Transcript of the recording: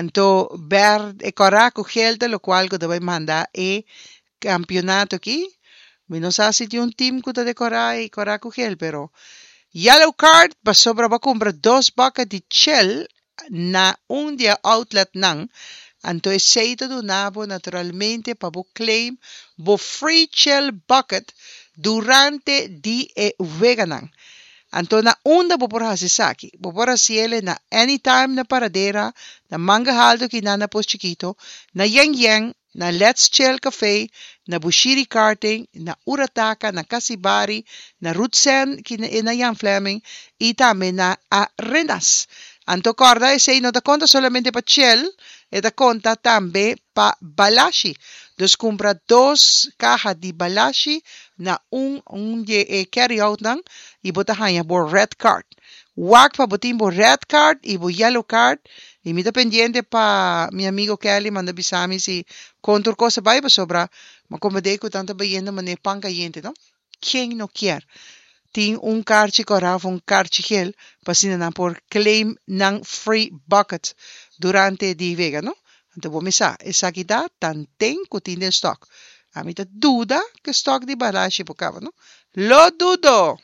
Anto berde, kòrá ku gel ta lokual ku ta bai manda e kampionato aki. Mi no sa si tin un team ku ta de kòrá i kòrá ku gel, pero yellow card pasobra bo a kumpra dos bucket di chel na un di e outletnan, anto esei ta duna bo naturalmente pa bo claim bo free chel bucket durante di e weganan. Anto na unda bo por hasi esaki? Bo por hasiele na Anytime na Paradera, na Manga Halto kinan na Pos Chikito, na Yen Yen, na Let's Chill Café, na Bushiri Karting, na Urataka, na Casibari, na Rootsen na Jan Flemming y tambe na Arenas. Anto corda esey no ta conta solamente pa Chill, e ta conta tambe pa Balashi. Dus cumpra dos caha di Balashi na un un di e carry outnan y bo ta haña bo red card. Wak pa bo tin bo red card y bo yellow card y mi ta pendiente pa mi amigo Kelly manda bisa mi si con tur cos a bay pasobra mi a comprende cu nan ta bayendo manera pan cayente no. Ken no kier tin un karchi kòrá of un karchi gel pa asina nan por claim nan free bucket durante di wega no. Anto bo mi sa esaki ta tanten ku tin den stock. Ami ta duda ku e stock di Balashi por kaba no. Lo dudo!